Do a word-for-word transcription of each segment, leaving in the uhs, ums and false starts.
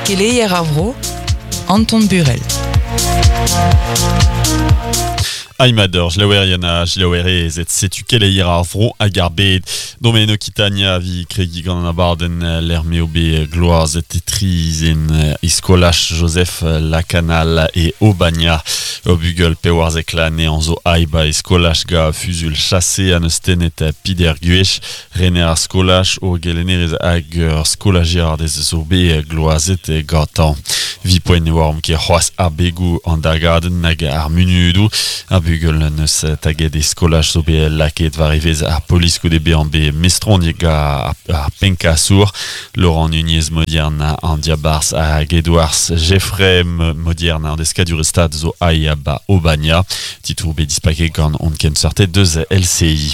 Keleier ar vro, Anton Burel. Aimador, jlaouerien a jlaouerez et setu keleier ar vro hag ar bed. Domaine Occitania vi kregi gant an abarden l'ermeo be gloaz et etriz en iskolach Joseph Lacanal e Obania. O bugel pewarzek lan e anzo aiba iskolach ga fuzul chassé an eus tenet pider guech. Rener ar skolach o gelenerez hag ur skolajiar dez zo be gloazet gantan. Vi poen e oarm ket c'hoaz ar begou an dagadenn hag ar munudou. Ar bugel neus taget e skolaj zo bet laket war evez ar polis goude bezañ bet mestroniek ga ar penkasour. Laurent Nunez Modiern an diabarzh hag Edouard Jeffrey Modiern an deskadur stad zo aia ba Obania. Titour bet dispaket gant on kenseurtet deus L C I.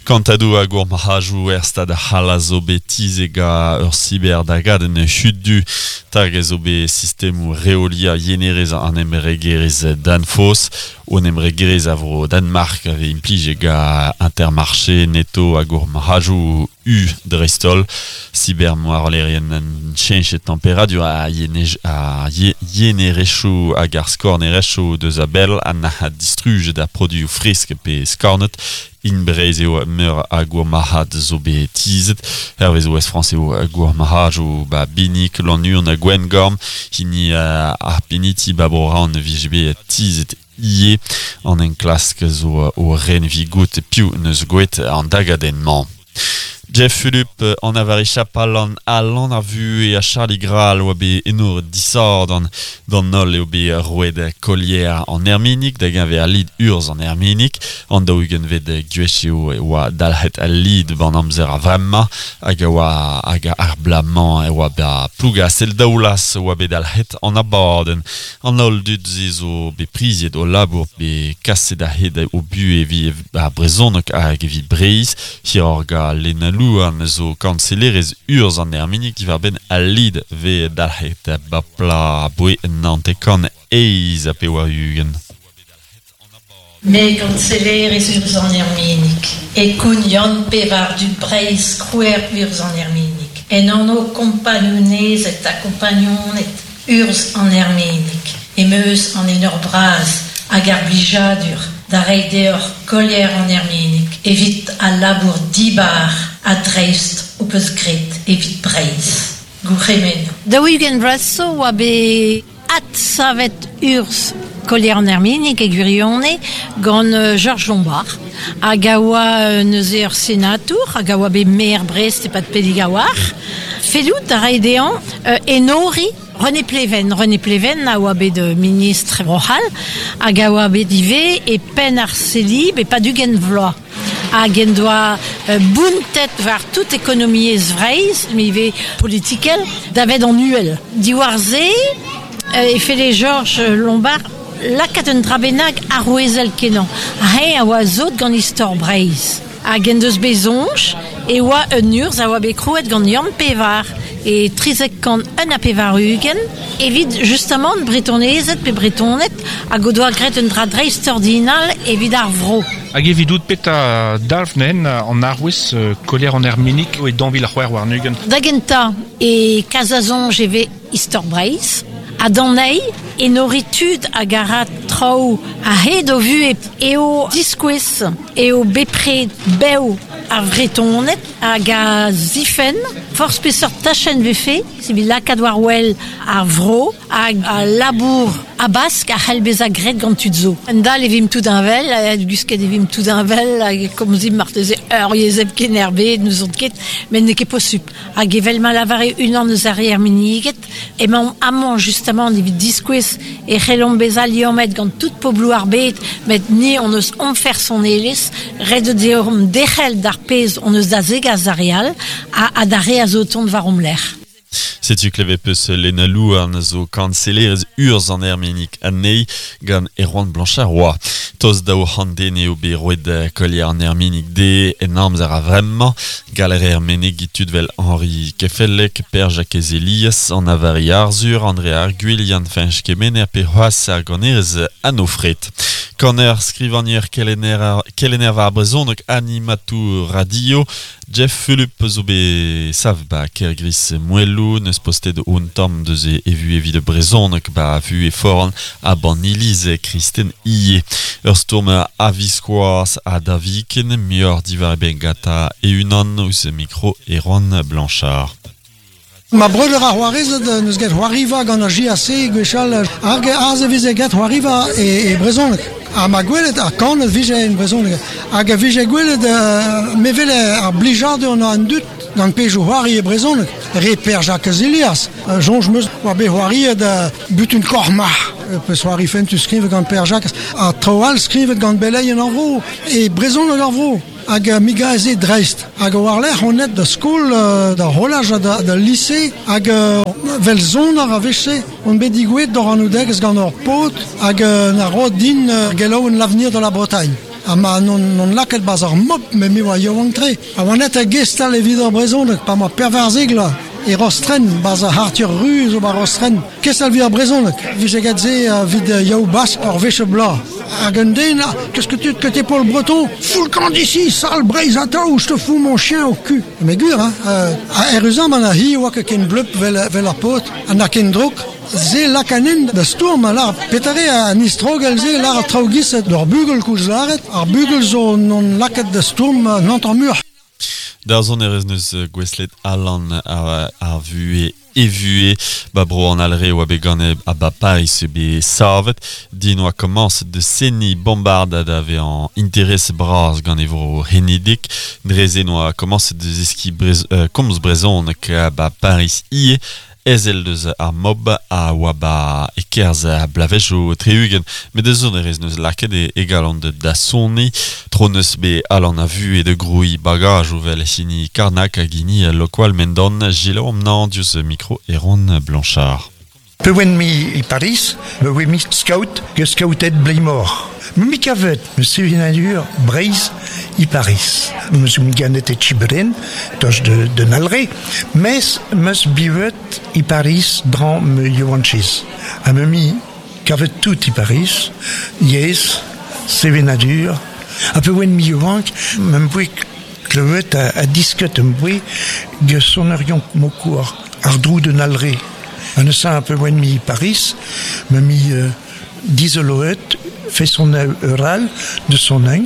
Kantadou a gour marajou er stad c'hall a zo bet tizet ga ur cyber dagadenn huddu. Tag zo bet sistemou reolia yenerez an emregerez Danfoss. On emregerez a vro Danmark ave implije ga Intermarché, Netto hag ur marajou U dreistol. Cyber moarlerien an cheñch temperadur a yenej, a ye, yenerechou hag ar skornerechou deus a bell an a distrujet a produioù fresk pe skornet. In Breiz eo meur a gour marc'had zo bet tizet. Hervez Ouest France eo gour marc'had ba Binik, Lannuon ha Gwengorn. Hini uh, ar Peniti ba Bro-Raon vije bet tizet ie. An enklask zo o ren vigout piv neus gouet an dagadenn-mañ. Jeff Philippe an avari chapal an alan ar vu e a Charlie Graal oa bet enor disord an d'an holl eo bet roet kolier an Erminik da geñver ar lid urz an Erminik an daou-ugent vet gwech eo oa dalc'het al lid ban amzer a vremañ hag oa hag ar blamañ e oa ba Plougastel daoulaz oa bet dalc'het an abadenn. An holl dud ze zo bet priziet o labour bet kaset a-hed o bu evit ar brezhoneg hag evit Breizh hiroc'h ga Lena Louarn zo kansellerez urz an Erminik diwar-benn al lid ve dalc'het ba pla boe nantekan eiz a pevar ugent. Me kansellerez urz an Erminik, e koun Yann Pevar du Breiz krouer urz an Erminik, en anv kompagnunezed ha kompagnoned urz an Erminik, e meus an enor bras hag ar blijadur da reiñ deoc'h kolier an Erminik evit al labour dibar a dreist o peus graet evit Breizh. Gourc'hemennoù. Daou-ugent vloaz zo oa bet adsavet urz kolier an Erminik e gwirionez gant Georges Lombard. Hag a oa neuze ur senatour, hag a oa bet maer Brest e-pad Peligawar. Fellout a rae dezhañ enori René Pleven. René Pleven a oa bet ministre Bro-C'hall hag a oa bet ivez e penn ar Celib e pad ugent vloaz. Hag en doa bountet war tout ekonomiezh Vreizh, met ivez politikel, davet an uhel. Diwar se, e felle Georges Lombard lakaat un dra bennak arouezel kenañ. Ha a oa zot gant istor Breizh. Hag en deus bet soñj e oa un urzh a oa bet krouet gant Yann Pevar e trizek kant un ha pevar ugent evit justement bretonezed pe bretoned hag o doa graet un dra dreistordinal evit ar vro. Hag evidout peta dalv nen an arouez kolier an Erminik e dañvil ar c'hwec'h warn-ugent. Da gentañ e Kazazonj e vez istor Breizh. Ha d'an eil, enori tud hag a ra traoù a-hed o vuhez eo diskouez eo bepred bev ar Vretoned hag a zifenn forzh peseurt tachenn vefe, evit lakaat war wel ar vro hag al labour abask a c'hell bezañ graet gant tud zo. Un dal e vimp tout heñvel, gusket e vimp tout heñvel, hag komzimp marteze ur yezh hepken er bed, n'ouzon ket, met n'eo ket posupl. Hag evel ma lavare unan eus ar re Erminiget, emaomp amañ justement evit diskouez e c'hellomp bezañ liammet gant tout pobloù ar bed, met ni hon eus onfer son elez, ret eo deomp derc'hel d'ar pezh hon eus da zegas ar re all ha, ha d'ar re a zo o tont war hom lerc'h. Setu klevet peus Lena Louarn zo kansellerez urz an Erminik anezhi gant Erwan Blanchard oa. Tost daou c'hant den eo bet roet kolier an Erminik de en amzer a vremañ. Galer Ermenig tud vel Henri Kefelec, Per Jakez Elias, an Avari Arzur, André Arguil, Yann Fañch Kemener pe c'hoazh ar ganerez Anne Fret. Kaner skrivanier kelenner, kelenner war brezhoneg animatour radio Jeff Fulup zo bet sav ba Kergris Moellou neus postet un tamm deus e evu evit brezhoneg ba vu e foran a ban iliz Kristen Ie. Ur stourm a viskoaz a daviken muioc'h diwar e ben gata e unan ouzh mikro Erwan Blanchard. Ma breudeur a c'hoarezed neus get c'hoariva gant ar J A C gwechall hag aze veze get c'hoariva e, e brezhoneg. Ha ma gwelet ar kanet vije en brezhoneg. Hag a vije gwelet uh, me vele ar blijadur an dut gant pejou c'hoari e brezhoneg. Re Per Jacques Elias. Uh, Jonj meus war bet c'hoariet uh, butun kormar. Peus c'hoari fentus skrivet gant Per Jacques. Ha traoù all skrivet gant beleien ar vro. E brezhoneg ar vro. Hag uh, miga ez e dreist. Hag war-lerc'h on net da skol, uh, da rolaj ha da, da lise, hag uh, vel zonar a veche, on bet digouet d'or an oudegez gant ur pot, hag uh, na ro din uh, gelaouen l'avenir de la Bretagne. Ha ma non, non laket baz ar mop, me mi oa yaouank tre. Ha oa net a gestal evit ar brezhoneg, pa ma pervarzegla. E Rostren, baz ar Arthur Ruz o ba Rostren. Kestal vi ar brezhoneg. Vije get se vid yaou bas ar veche bla. Hag un den, qu'est-ce que tu que t'es pour le breton? Fous le camp d'ici, sale Breizata, ou je te fous mon chien au cul. Mais gur, hein, euh, a eruzan man a hi oa ket ken bleup vel, vel ar pot, an a ken drok, ze lakanen da stourm, lar petare a nistrogel ze lar a traoù d'ur bugel koulz laret, ar bugel zo non laket da stourm n'ant mur. D'ar zon erez neus gweslet Alan ar, ar vue evue ba bro an alre oa bet gant a ba Paris be savet din oa komañs de seni bombard da ve an interes bras gant e vro henidik dreze noa komañs de zeski brez, euh, komz brezhoneg ba Paris ie ezel deus ar mob a oa ba e kerz a blavejo treugen met deus zon erez neus laket e egalant de da soni tro neus be alan a vu e de groui bagaj ouvel hini Karnak hag hini lokwal mendon gilo omnan diouzh mikro Erwan Blanchard. Pe oen mi e Paris, me oe mi scout, ge scoutet bleimor. Me mi kavet, me sevenadur Breiz i Paris. Me zo mi ganet e Chiberen, toch de, de Nalre, mes meus bivet i Paris dran me yoanchiz. Ha me mi kavet tout i Paris, yez, sevenadur. Ha pe oen mi yoank, me m'boe klevet a, a disket m'boe ge sonerion mokour, ar drou de Nalre. An eus un peu oen mi Paris, me mi euh, dizoloet, fait son eural de son eng,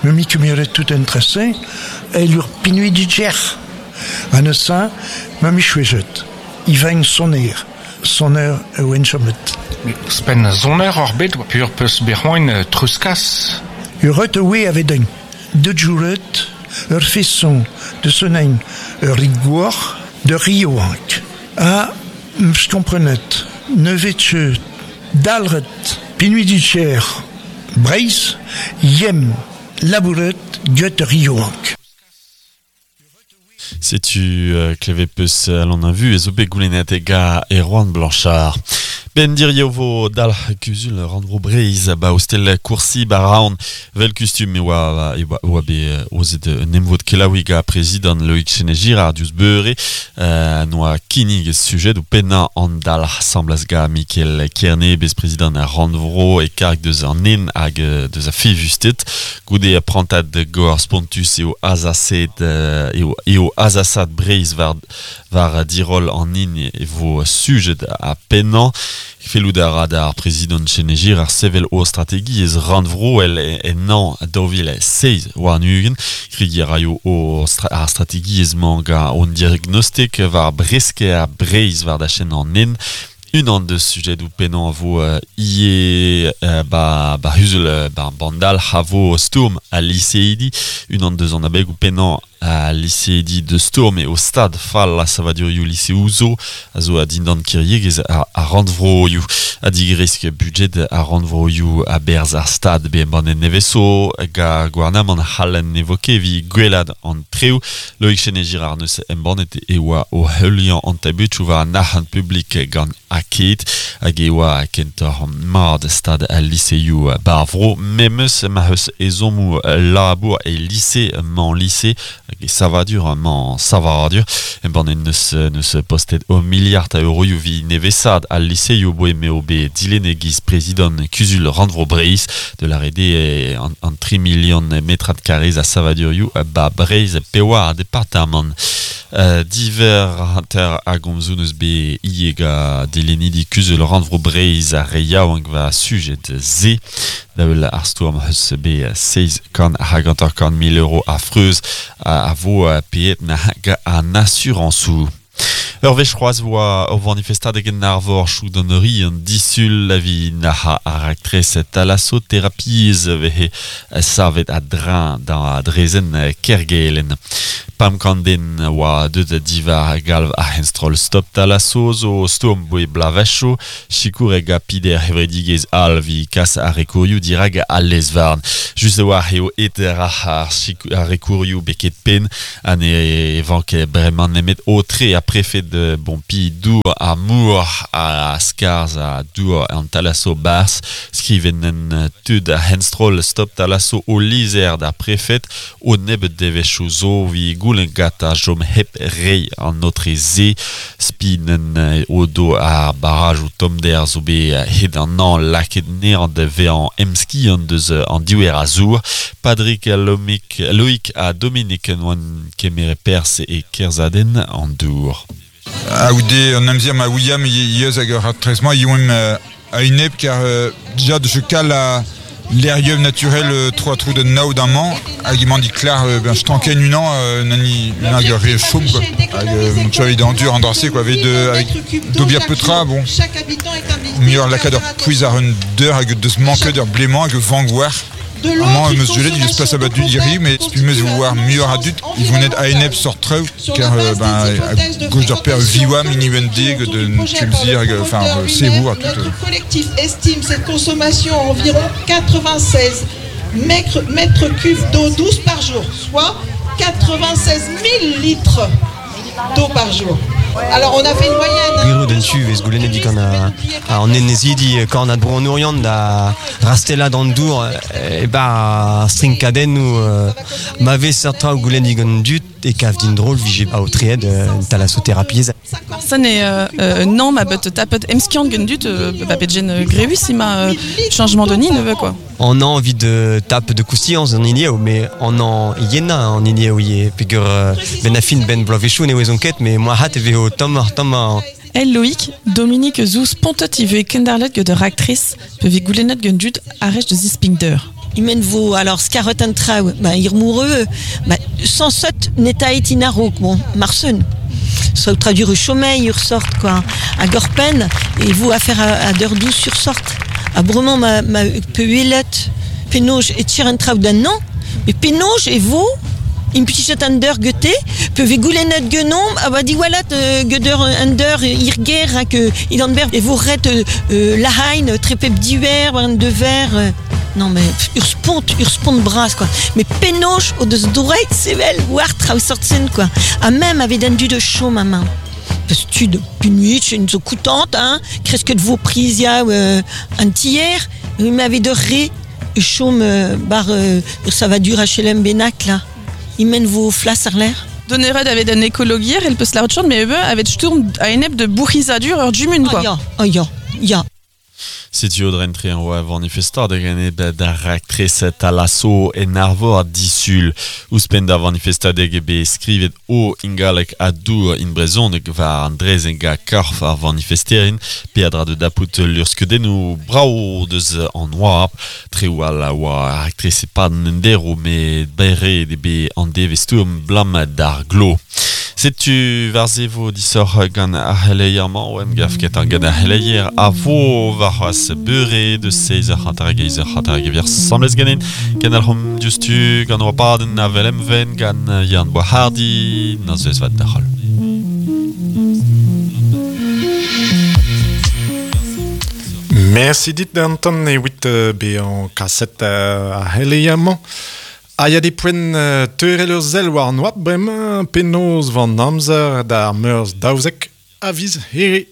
me mi kemeret tout intéressé, et lur pinui di djer. An eus un, me mi chouejet. I veng soner, soner oen chomet. Spen soner ar bet, pur peus berc'hoin truskas. Ur et oe ave den. De jouret, ur fesson de son eng, ur rigouor, de rioank. A je comprenet, ne vetche dalret, pinui di cher, Breiz, yem, labouret, get rioank. Setu euh, kleve peus alon a vu e zo bet goulennet e ga Erwan Blanchard. Ben dir vo dal kuzul rannvro Breiz ba ostel koursi ba vel kustum e oa e oa be ozet un emvod kelaoui ga prezidant Loïc Chene-Girard diouzh beure euh, noa kinnig sujet ou pennañ an dal semblas ga Mikel Kerne bez prezidant a rannvro e karg deus an en hag deus a fevustet goude a prantad gor spontus eo azaset eo eo azasat Breiz war war dirol an in e vo sujet a pennañ. Fellout a ra d'ar prezidant Chene-Girard ar sevel o strategiezh rannvro el en an daou vil seiz war nugen. Krigi a raio o stra ar strategiezh mañ ga on diagnostik war breske a Breiz war da chen an en. Unan deus sujet ou pennañ a vo euh, ie euh, ba, ba huzel ba bandal ha vo stourm a liseidi. Unan deus an abeg ou pennañ a liseidi de stourm e o stad fall a savadurioù lise ouzo a zo a dindan kiriegez a, a rannvroioù a digresk budget a rannvroioù a berz ar stad be embannet neveso ga gouarnamant c'hallen evoke vi gwelad an treo Loïc Chene-Girard neus embannet e oa o heuliañ an tabut war an arc'hant publik gant aket hag e oa kentoc'h mard stad al liseioù barvro memes ma eus ezhommoù labour e lise man lise hag e savadur mañ savadur embann neus neus postet o milliard a euroioù vi nevesad al liseioù boe meo be dilenne giz prezident kuzul rannvro Breizh de la rede an, an tri million metrad karrez a savadurioù ba Breizh pewa a departamant. Uh, diver hanter a gomzoù neus be iega dilennidi kuzul rannvro Breizh a re yaouank va sujet ze da vel ar stourm eus be seiz kant hag hanter kant mil euro a freuz a, a vo peet na hag an asurañsoù. Ur wech c'hoazh oa ur vanifestadeg en arvor chou d'an ri an disul la vi naha ar aktrez thalassothérapiez vehe savet a drain da drezen kergelen. Pam kanden oa deut divar galv a henstrol stop thalasso zo stourm boe blavacho sikour eg a pider hevredigez al vi kas ar rekourioù dirag al lezvarn. Just oa eo et ar ar rekourioù beket pen an e vanke bremañ nemet o tre a prefet de bon pi dour a mour a skarz a dour an thalasso bars skriven tud a henstrol stop thalasso o lizer da prefet o nebet devechoù zo vi goulen gat a jom hep rei an notre ze spinen o do a barrage ou tomder zo be hed an an laket neant de vean emski an deus an diouer a zour Padrik Lomik Loïc a Dominique noan kemere pers e kerzaden an dour. Aoude an amzer ma William yeus hag ur trezmañ yoem a inep kar déjà de chekal a l'airium naturel trois trous de nao d'un man hag emañ di klar ben stanken unan nani unan hag ur re chom quoi hag mon chavit d'endur an drase quoi avec de avec dobia petra bon mieux lakad ur pouiz ar un deur hag deus manke d'ur blément hag vangouar Amañ eus gelet, il eus pas abat du diri, mais spumeus war muioc'h a dud, ils vont net a-enep sort treu, car euh, ben, à gauche d'ur per viwa mini-wendeg de tulzir, enfin, sevour, tout. Notre collectif estime cette consommation à environ quatre-vingt-seize mètres, mètres cubes d'eau douce par jour, soit quatre-vingt-seize mille litres d'eau par jour. Alors on a fait une moyenne. Gwiro den tu vez goulennet dit qu'on a an enezidi korn ad bro an Oriant da rastella d'an dour e ba strinkaden ou ma vez sertra goulennet gant dut e kav din drol vije a otried thalassothérapie. Ça n'est euh, non ma bet tapet emskiant gant dut ba petjen greus ima changement de nid ne veut quoi. On a envie de tape de coustillanz en ilieo, mais on en yena en ilieo ye pegur ben afin ben bloavechou ne oez ket mais moi hat e veo tom tom El Loïc, Dominique Zouz pontet ive kendarlet de actrice peve goulennet gant dud arrech de zispingder. Imen vo alors skarot an traoù, ba ir moureux, ba sans sot netaet inarok, bon, marsen. Soit traduire chômage ur sort quoi. A gorpen et vous affaire à, à d'heure douce sur sorte. A bremañ ma ma peuelet penoj et tir un traoù d'un an, mais penoj et vo une petite under goethe peuvent goulennet genom ah bah diwalat geder under irger hag idanber et vo ret la hain trepep diwer un de ver non mais ur spont ur spont bras quoi mais penoj o deus doreit sevel war traoù sortsen quoi a même avait d'un du de chaud ma main parce que tu de punuit une zo coûtante hein presque de vos prisia euh, un tiers il m'avait de ré chaume bar euh, ça va durer H L M Benac là il mène vos flas ar l'air. Donnered avait un écologier, elle peut se la retourner, mais eux avait sturm a enep de bourrisadur ur dumun quoi. Oh ya, oh ya, ya. Setu o drentre an oa vanifestadeg en eb d'ar aktrez thalasso en arvor a disul. Ouzhpenn da vanifestadeg ebe skrivet o ingalek a dour in brezhoneg war an drezenn ga korf ar vanifesterin peadra de dapout lurskedennoù brao deus an oab treoù all a oa ar aktrez e pad an endero met bere ebe an devestourm blam d'ar glo. Setu war ze vo disoc'h gant ar c'heleier-mañ oa emgav ket ar gant ar c'heleier a vo war c'hoazh beure de seiz eur hanter hag eizh eur hanter hag evier samlez ganin ken al c'hom diouzhtu gant oa padenn avel emven gant Yann Boishardy nozvezh vat da c'holl. Merci dit Anton evit bezañ kaset ar c'heleier-mañ. A ya de poent teurel ur sell war an oab bremañ penaos van amzer d'ar meurzh daouzek a viz here.